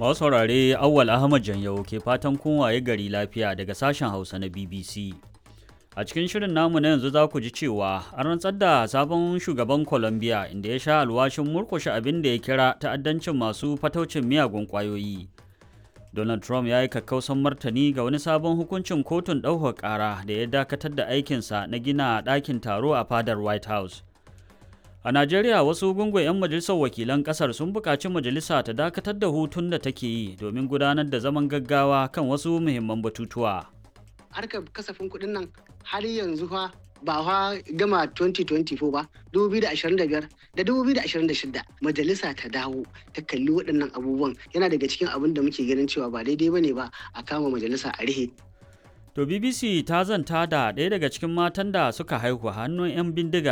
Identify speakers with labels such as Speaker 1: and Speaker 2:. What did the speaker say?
Speaker 1: Masu saurare, Awwal Ahmad Janyau ke fatan kun waye gari lafiya daga sashen Hausa na BBC. A cikin shirin namu na yanzu za ku ji cewa an rantsar da sabon shugaban Colombia, inda ya sha alwashin murkushe abin da ya kira ta'addancin masu fataucin miyagun ƙwayoyi. Donald Trump ya yi kakkausan martani ga wani sabon hukuncin kotun ɗaukar ƙara da ya dakatar da aikinsa na gina ɗakin taro a fadar White House. A Najeriya, wasu gungun 'yan majalisar wakilan ƙasar sun buƙaci majalisa ta dakatar da hutun da take yi domin gudanar da zaman gaggawa kan wasu muhimman batutuwa.
Speaker 2: Harkar kasafin kuɗin nan har yanzu fa ba fa gama 2024 ba, 2025 da 2026. Majalisa ta dawo ta kalli waɗannan abubuwan. Yana daga cikin abin da muke ganin cewa ba daidai bane ba a kama majalisa a rihe.
Speaker 1: To, BBC ta zanta da ɗaya daga cikin matan da suka haihu hannun 'yan bindiga.